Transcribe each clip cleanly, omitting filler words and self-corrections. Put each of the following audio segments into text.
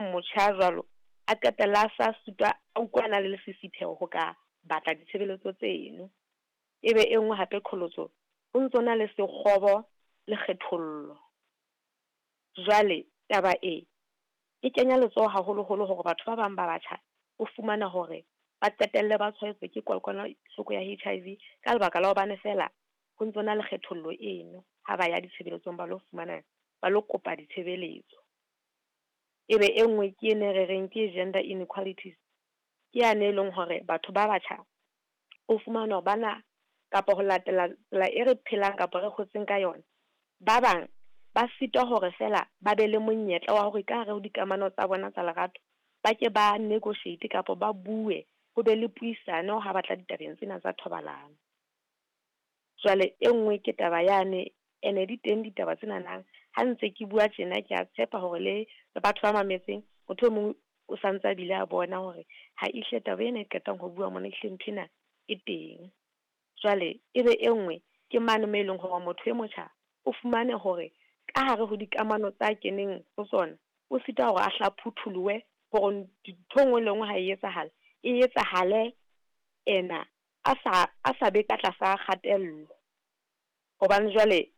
Motjha jwalo a qetella a sa sitwa, a utlwa a na le lesisitheho ho ka batla ditshebeletso tseno. Ebe e nngwe hape qholotso, ho ntso na le sekgobo le kgethollo. Jwale taba e, e kenya letsoho haholoholo hore batho ba bang ba batjha o fumana hore ba qetelle ba tshwaetswa ke kokwanahloko ya HIV ka lebaka la hobane feela ho ntso na le kgethollo eno ha ba ya ditshebeletsong ba lo fumana, ba lo kopa ditshebeletso. Ebe e nngwe ke ena e re reng ke gender inequalities, ke yane e leng hore batho ba batjha o fumana hore bana kapa ho latela tsela e re phelang kapa re hotseng ka yona, ba bang ba sitwa hore feela ba be le monyetla wa hore ka hare ho dikamano tsa bona tsa lerato ba ke ba negotiate kapa ba bue, ho be le puisano ha batla ditabeng tsena tsa thobalano. Jwale e nngwe ke taba yane, ene di teng ditaba tsena nang ha ntse ke bua tjena, ke a tshepa hore le batho ba mametseng, motho e mong o santse a bile a bona hore ha ehlile taba ena e qetang ho bua mona, ehlile nthwena e teng. Jwale ebe e nngwe ke mane moo e leng hore motho e motjha o fumane hore ka hare ho dikamano tsa keneng ho tsona, o sita hore a hla phutholohe hore ntho e nngwe le nngwe ha e etsahala, e etsahale ena a sa be ka tlasa kgatello. Hobane jwale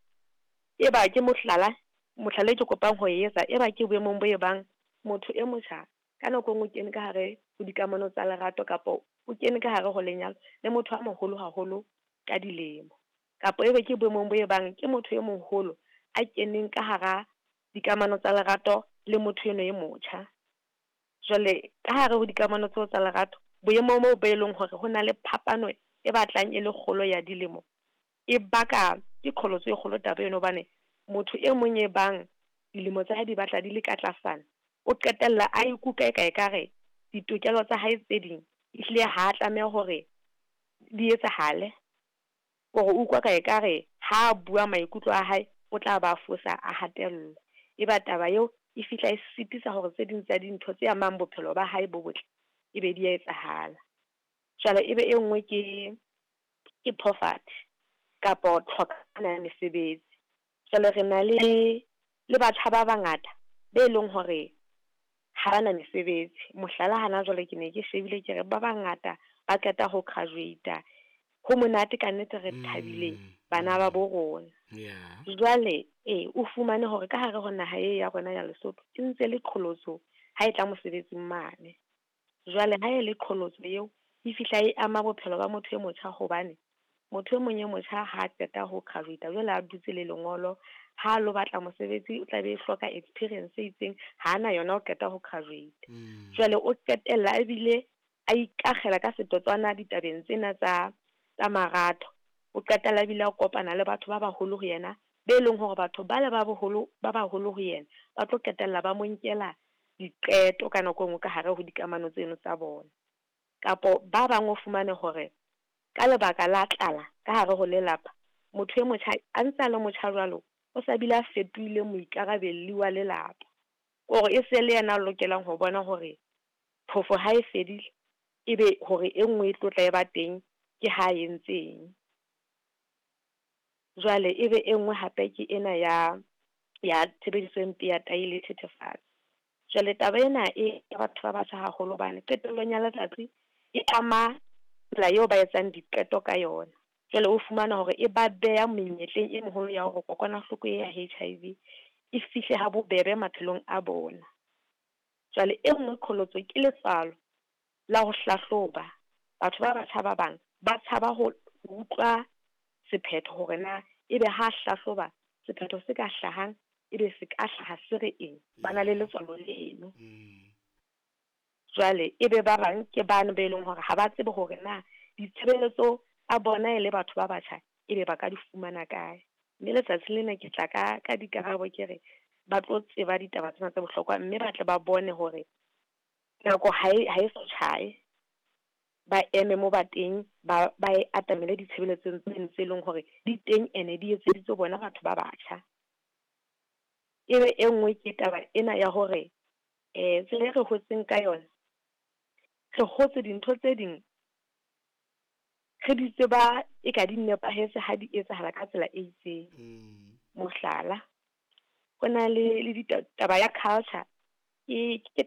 e ba ke mohlala, mohlala e ke kopang ho etsa, e ba ke boemong bo e bang motho e motjha ka nako e nngwe o kene ka hare ho dikamano tsa lerato kapa o kene ka hare ho lenyalo le motho a moholo haholo ka dilemo, kapa ebe ke boemong bo e bang ke motho e moholo a keneng ka hara dikamano tsa lerato le motho eno e motjha. Jwale ka hare ho dikamano tseo tsa lerato, boemo moo bo e leng hore ho na le phapano e batlang e le kgolo ya dilemo, e baka ke qholotso e kgolo taba eno, hobane motho e mong e bang dilemo tsa hae di batla di le ka tlasana, o qetella a ikutlwa e ka ekare ditokelo tsa hae tse ding ehlile ha tlameha hore di etsahale, hore o utlwa ka ekare ha bua maikutlo a hae o tla ba fosa a hatellwa. Eba taba eo e fihla e sitisa hore tse ding tsa dintho tse amang bophelo ba hae bo botle e be di a etsahala. Jwale ebe e nngwe ke poverty kapa tlhokana ya mesebetsi. Jwale re na le batjha ba bangata be leng hore ha bana mesebetsi. Mohlala hana jwale ke ne ke shebile ke re ba bangata ba qeta ho graduate-a, ho monate ka nnete re thabile bana ba bo rona. Jwale o fumane hore ka hare ho naha e ya rona ya Lesotho e ntse le qholotso ha e tla mosebetsing mane. Jwale ha e le qholotso eo e fihla e ama bophelo ba motho e motjha, hobane motho e mong e motjha ha qeta ho graduate jwale a dutse le lengolo, ha lo batla mosebetsi o tla be hloka experience e itseng, ha na yona o qeta ho graduate. Jwale o qetella ebile a ikakgela ka setotswana ditabeng tsena tsa marato, o qetella ebile a kopana le batho ba baholo ho yena, be leng hore batho ba le ba boholo ba baholo ho yena ba tlo qetella ba mo nkela diqeto ka nako e nngwe ka hare ho dikamano tseno tsa bona. Kapo ba bang o fumane hore ka lebaka la tlala ka hare ho lelapa, motho e motjha a ntse a le motjha jwalo, o sa bile a fetohile moikarabelli wa lelapa, hore e se le yena a lokelang ho bona hore phofo ha e fedile ebe hore e nngwe e tlotla e ba teng ke ha entseng. Jwale ebe e nngwe hape ke ena ya tshebediso e mpe ya tahi le thethefatsi. Jwale taba ena e batho ba batjha haholo hobane qetellong ya letsatsi e ama tsela eo ba etsang diqeto ka yona. Jwale o fumana hore e ba beha menyetleng e meholo ya hore kokwanahloko ya HIV e fihle ha bobebe maphelong a bona. Jwale e nngwe qholotso ke letswalo la ho hlahloba. Batho ba batjha ba bang ba tshaba ho utlwa sephetho hore na ebe ha hlahloba sephetho se ka hlahang, ebe se ka hlaha se re eng, ba na le letswalo leno. Jwale ebe ba bang ke bano be leng hore ha ba tsebe hore na ditshebeletso tsa bona e le batho ba batjha ebe ba ka di fumana kae. Mme letsatsi lena ke tla ka dikarabo ke re ba tlo tseba ditaba tsena tse bohlokwa, mme ba tle ba bone hore nako ha e so tjhae, ba eme mo ba teng, ba e atamele ditshebeletsong tseno tse leng hore di teng ene di etseditswe bona batho ba batjha. Ebe e nngwe ke taba ena ya hore tsela e re hotseng ka yona, re hotse dintho tse ding re di tseba e ka di nepahetse ha di etsahala ka tsela e itseng. Mohlala, ho na le taba ya culture. Ke ke.